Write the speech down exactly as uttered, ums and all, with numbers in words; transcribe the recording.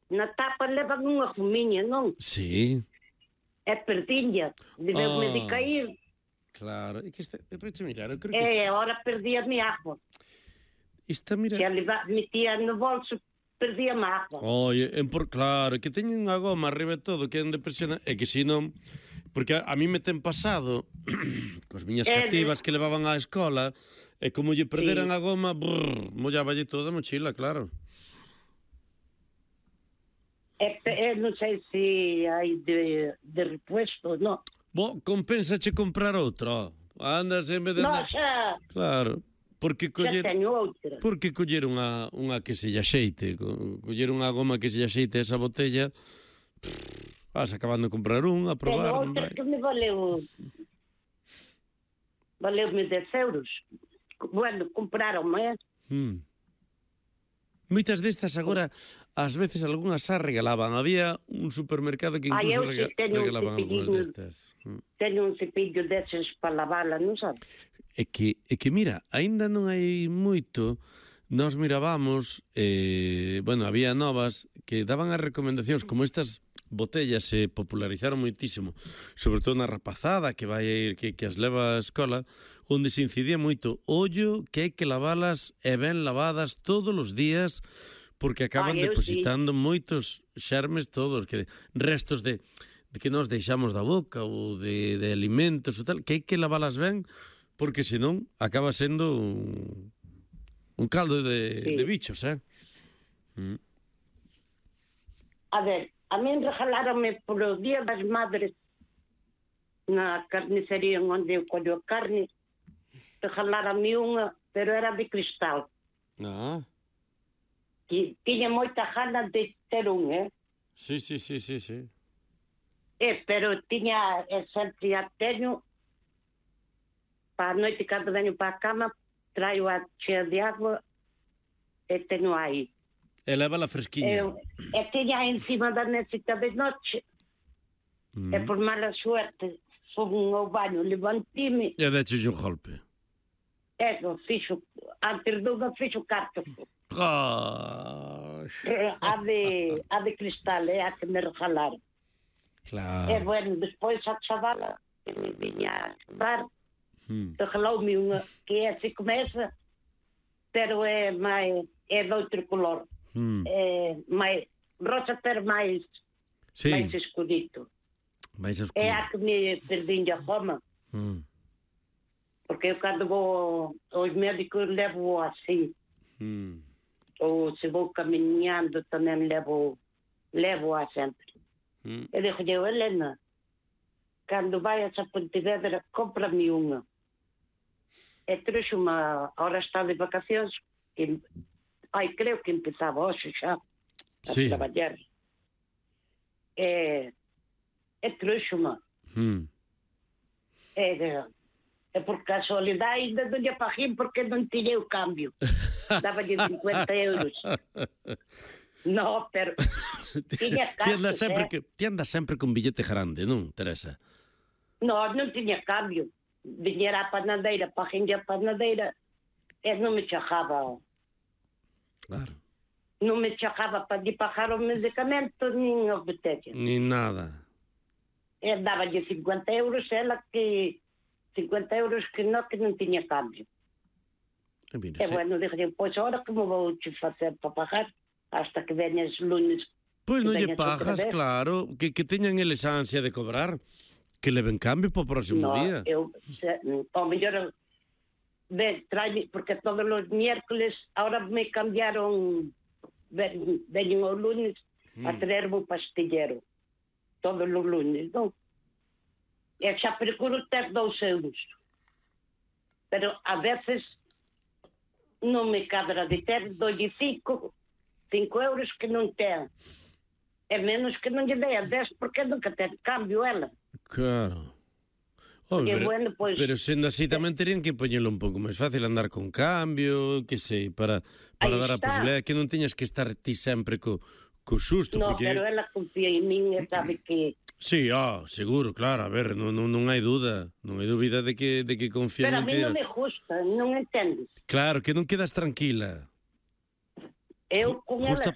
na tapa levan unha fumiña, non? Sí. É perdinha, debeu-me de cair. Claro, e que este, depois mirar, eu creo que... E agora perdía-me agua. Esta, mira... Que a leva, metía no bolso, perdía-me agua. Oye, en por, claro, que teñen unha goma arriba e todo, que é onde presiona, e que si non... Porque a, a mí me ten pasado, cos miñas cativas que levaban á escola, e como lle perderan sí. a goma, brrr, mollaballe toda a mochila, claro. E, e non sei se hai de, de repuesto, non? Bo, compensache comprar outra. Andas en vez de... No, xa... Claro, porque coller... Xa teño outra. Porque coller unha, unha que se lle axeite, coller unha goma que se lle axeite esa botella, pff, vas acabando de comprar unha, a probar... Teño outra que me valeu... Valeu-me dez euros. Bueno, compraron-me, eh? Hmm. Moitas destas agora, ás veces algunhas xa regalaban. Había un supermercado que incluso Ai, rega regalaban algunhas destas. Teño un cepillo deses para lavala, non sabes? É que, é que mira, aínda non hai moito, nós mirábamos, eh, bueno, había novas que daban as recomendacións, como estas botellas se popularizaron moitísimo, sobre todo na rapazada que vai a ir, que, que as leva á escola, onde se incidía moito, ollo que hai que lavalas e ben lavadas todos os días, porque acaban Ay, depositando sí. moitos xermes todos, que restos de, de que nos deixamos da boca ou de, de alimentos ou tal, que hai que lavalas ben, porque senón acaba sendo un, un caldo de, sí. de bichos, eh? Mm. A ver, a mí regaláronme polo Día das Madres na carnicería onde eu collo a carne, regaláronme unha, pero era de cristal. Ah. E tiña moita gana de ter un, eh? Sí, sí, sí, sí, sí. Eh, pero tiña, e sempre a teño, para a noite, cando veño para a cama, traio a chea de agua e teño aí. E leva la fresquiña. E, e tiña encima da mesita de noche, mm. e por mala suerte, fomos ao baño, levantime. E deches un golpe. Eso, fixo, antes dunha fixo carta. Oh. A de, a de cristal, é a que me regalaron. Claro. E bueno, despois a chavala que me viña a estudar, hmm. regaloume unha que é así como esa, pero é máis, é de outro color. Hmm. É máis, rosa, pero máis, sí. máis escudito. Mais escuro. É a que me perdín a goma. Hmm. Porque eu cando vou aos médicos levo así. Hmm. Ou se vou caminhando tamén levo levo a sempre. Hmm. Eu dixo, eu, Helena, cando vayas a Pontevedra, compra-me unha. E trouxe unha, agora está de vacacións, que, ai, creo que empezaba hoxe xa a sí. traballar. E, e trouxe unha. Hmm. E de... E por casualidade ainda non lle paguei porque non tiña o cambio. Daba-lle cincuenta euros. No, pero tiña caso, ti andas sempre eh? que, ti andas sempre con billete grande, non, Teresa? No, non tiña cambio. Viñera a panadeira, paguei a panadeira e non me chajaba. Claro. Non me chajaba para lle pagar o medicamento nin os botellas. Ni nada. E daba-lle cincuenta euros ela que... cincuenta euros que non, que non tiña cambio. E, mira, e bueno, dije, pois agora como vou te facer para pagar hasta que veñas lunes? Pois non lle pagas, claro, que, que teñan eles a ansia de cobrar, que leven cambio para o próximo no, día. Eu, se, ao mellor, ve, trae, porque todos os miércoles, ahora me cambiaron, veñen o lunes mm. a traerme o pastillero, todos os lunes, non? E xa procuro ter dous euros. Pero a veces non me cadra de ter dolle cinco, cinco euros que non ten. É menos que non lle dei a dez porque nunca ten cambio ela. Claro. Oh, pero, bueno, pues, pero sendo así tamén terían que poñelo un pouco máis fácil, andar con cambio, que sei, para, para dar a posibilidade que non teñas que estar ti sempre co, co susto. No, porque... pero ela confía en min e sabe que... Sí, oh, seguro, claro, a ver, non, non, non hai dúda, non hai dúbida de que, de que confía en ti. Pero a mí non me gusta, non entendes. Claro, que non quedas tranquila. Eu con ela, si